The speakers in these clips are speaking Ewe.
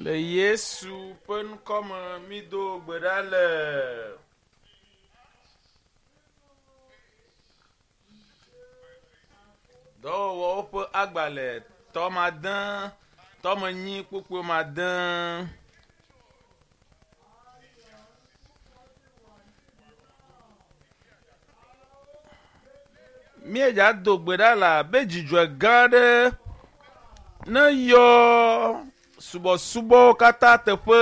Le Yesu ƒe ŋkɔ me mído gbe ɖa le. Dɔwɔwɔwo ƒe agbalẽ tɔmade tɔmenyi kpukpui made. Míedza do gbe ɖa le abe dzidzɔe gã aɖe ne yɔ subɔsubɔwo katã teƒe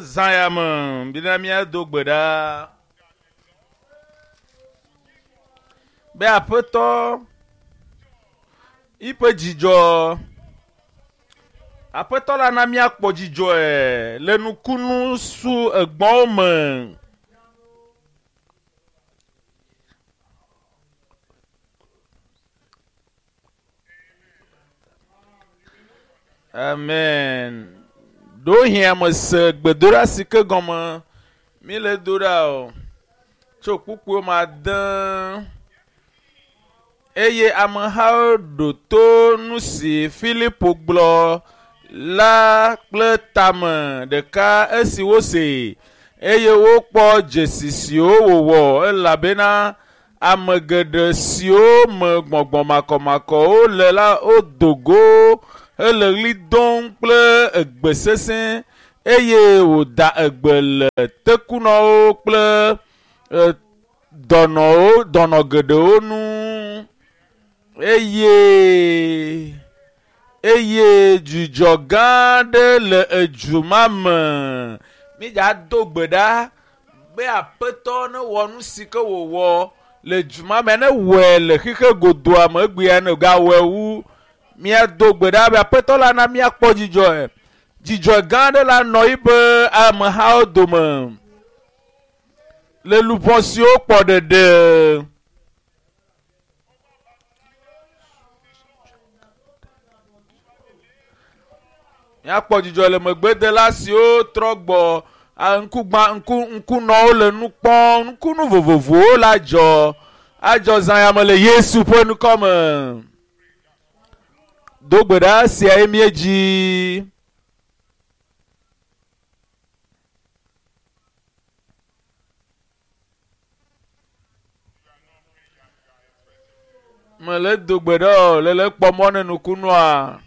zã ya me bena míado gbe ɖa be aƒetɔ yiƒe dzidzɔ aƒetɔ la na míakpɔ dzidzɔe le nukunu su egbɔwo me. Amen. Ɖewohĩ ame se gbedoɖa si ke gɔme míle do ɖa o tso kpukpuiwo me ade eye amehawo ɖo to nu si Filipo gblɔ la kple tame ɖeka esi wosee eye wokpɔ dzesi siwo wòwɔ elabena ame geɖe siwo me gbɔgbɔ makɔmakɔwo le la wodo go hele ɣli dom kple egbe sesẽ eye wòda egbe le tekunɔwo kple e, dɔnɔwo dɔnɔ geɖewo nu eye eye dzidzɔ gã aɖe le edu ma me. Mídza do gbe ɖa be aƒetɔ newɔ nu si ke wòwɔ le du ma me ne wɔe le xixe godoa me egbea ne gawɔe wu míado gbe ɖa be aƒetɔ la na míakpɔ dzidzɔe. Dzidzɔ gã aɖe la nɔ yiƒe amehawo dome le luʋɔ siwo kpɔ ɖeɖe. Míakpɔ dzidzɔ le megbedela siwo trɔ gbɔ ŋkugba ŋku ŋkunɔwo le nu kpɔm ŋkunu vovovowo la dzɔ adzɔ zã ya me le Yesu ƒe ŋkɔ me. Do gbe ɖa sia ye míedzi. Mele do gbe ɖa o le le kpɔ mɔ ne nukunua.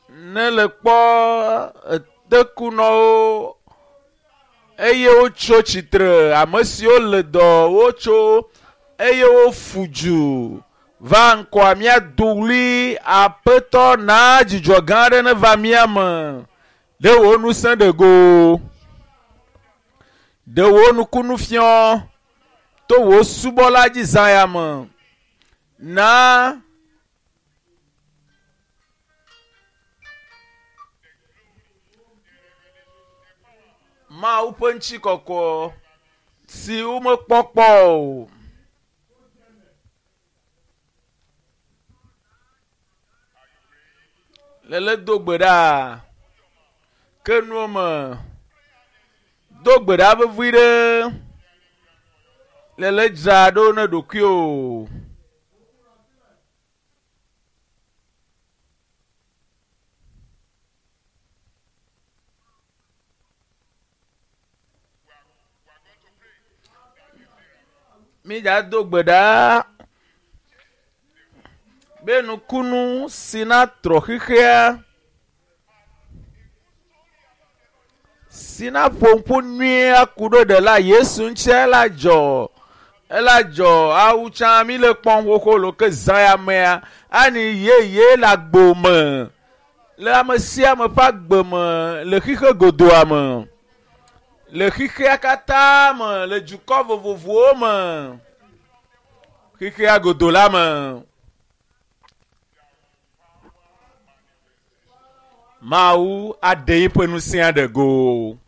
Ne le kpɔ etekunɔwo eye wotso tsitre ame siwo le dɔ wotso eye wofu du va ŋkɔa míado ɣli aƒetɔ na dzidzɔ gã aɖe neva mía me. Ɖe wò ŋusẽ ɖe go. Ɖe wò nukunu fiɔ to wò subɔla dzi zã ya me. Na Mawu ƒe ŋutikɔkɔ si womekpɔ kpɔ o. Lele do gbe ɖa. Ke nuwo me. Do gbe ɖa vevi ɖe. Lele dzra ɖo ne ɖokuiwò. Mídza do gbe ɖa be nukunu si na trɔ xexea si na ƒo ŋku nyuie aku ɖo ɖela Yesu ŋuti ela dzɔ ela dzɔ awu tsã mi le kpɔm xoxo lo ke zã ya mea ani yeye le agbo me le ame sia ame ƒe agbe me le xixe godoa me le xixea katã me le dukɔ vovovowo me xixea godo la me. Mawu aɖe yiƒe ŋusẽa ɖe go.